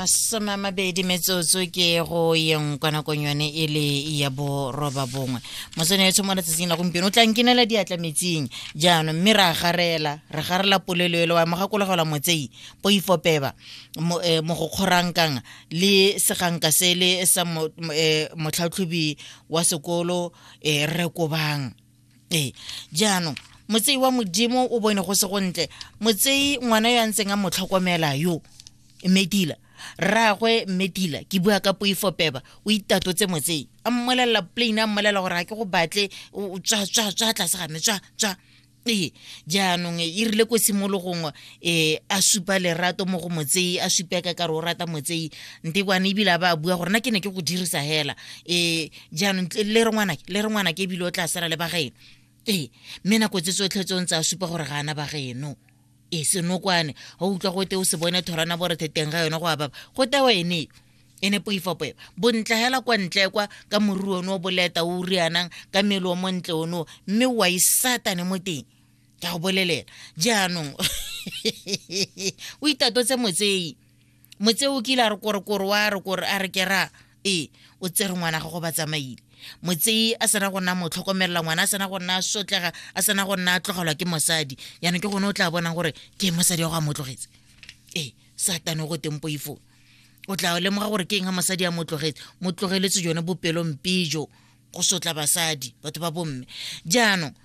20 metsotso ke go yeng kwa nakong yone e le ya 9:30. Mosone ya mo letsatsing la gompieno o tla nkinela diatla metsing jaanong, mme re a garela, re garela polelo ele wa mogakologelwa motsei poifopeba mo go kgorankang le seganka sele sa motlhatlhobi wa sekolo, re kobang. Ee, jaanong motsei wa Modimo o bone go se gontle. Motsei, ngwana yo a ntseng a mo tlhokomela yo Mmetila, rraagwe Mmetila, ke bua ka poifopeba, o itatotse motsei, a mmolelela plain, a mmolelela gore ga ke go batle, o tswa, tswa, tswa tlase ga me, tswa, tswa. Ee, jaanong e rile ko tshimologong a supa lerato mo go motsei, a supa ka kare o rata motsei ntekwane, ebile a ba a bua gore nna ke ne ke go dirisa hela. Jaanong le re ngwanake, le re ngwanake, ebile o tla sala le bageno. Ee, mme nako tse tsotlhe tse o ntse a supa gore ga ana bageno. Ee, senokwane ga utlwa gote o se bone thorana borethe teng ga yone go a baba go tewa ene ene poifopoe bontle hela kwa ntle kwa ka moriri one o boleta o rianang, ka mmele o montle ono, mme wa isatane mo teng, ke a go bolelela. Jaanong o itatotse motsei. Motsei o kile a re korekore wa re kore a re kera. Ee, o tsere ngwana gago, ba tsamaile. Motsei a sena go nna mo tlhokomelela ngwana, a sena go nna a sotlega, a sena go nna a tlogelwa ke mosadi. Yaanong ke gone o tla bonang gore ke mosadi wa go a mo tlogetse. Ee, satane go teng poifo, o tla lemoga gore ke eng ga mosadi a mo tlogetse, mo tlogeletse jone bopelompe jo go sotla basadi, batho ba bomme. Jaanong